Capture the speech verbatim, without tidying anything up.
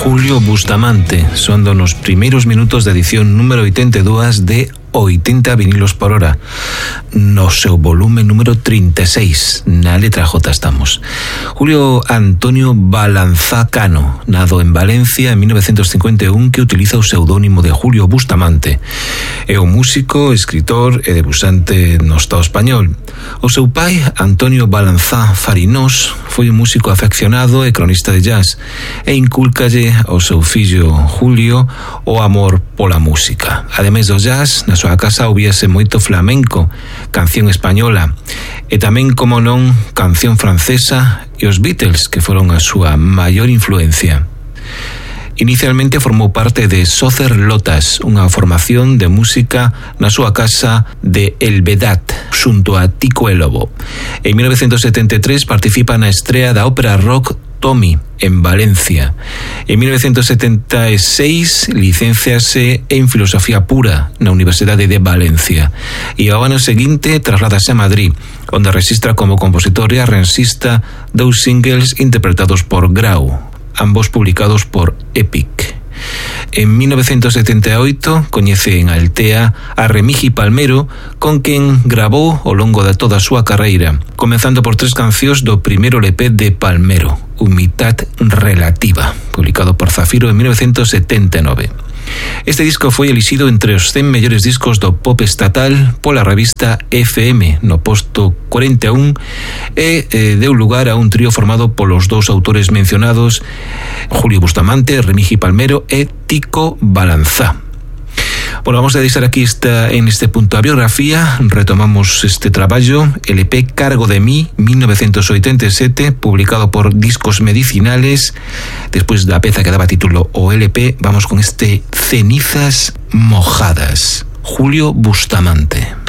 Julio Bustamante, soando nos primeiros minutos da edición número oitenta e dous de oitenta vinilos por hora, no seu volume número trinta e seis, na letra J estamos. Julio Antonio Balanzá Cano, nado en Valencia en mil novecientos cincuenta e un, que utiliza o pseudónimo de Julio Bustamante. É un músico, escritor e debusante no Estado español. O seu pai, Antonio Balanzá Farinós, foi un músico afeccionado e cronista de jazz, e inculcalle ao seu fillo Julio o amor pola música. Ademais do jazz, na súa casa ouvíase moito flamenco, canción española e tamén, como non, canción francesa e os Beatles, que foron a súa maior influencia. Inicialmente formou parte de Socer Lotas, unha formación de música na súa casa de El Vedat, xunto a Tico e Lobo. En mil novecientos setenta e tres participa na estrea da ópera rock Tommy, en Valencia. En mil novecientos setenta e seis licénciase en Filosofía Pura na Universidade de Valencia e ao ano seguinte trasládase a Madrid, onde registra como compositor e arrensista dous singles interpretados por Grau, ambos publicados por Epic. En mil novecientos setenta e oito coñece en Altea a Remigi Palmero, con quen grabou ao longo de toda a súa carreira, comenzando por tres cancións do primeiro L P de Palmero, Humildad Relativa, publicado por Zafiro en mil novecientos setenta e nove. Este disco foi elixido entre os cen mellores discos do pop estatal pola revista F M no posto cuarenta e un e eh, deu lugar a un trío formado polos dous autores mencionados, Julio Bustamante, Remigi Palmero e Tico Balanzá. Bueno, vamos a deixar aquí esta, en este punto a biografía. Retomamos este traballo, L P Cargo de mí, mil novecientos oitenta e sete, publicado por Discos Medicinales. Despois da peza que daba título o L P, vamos con este Cenizas Mojadas, Julio Bustamante.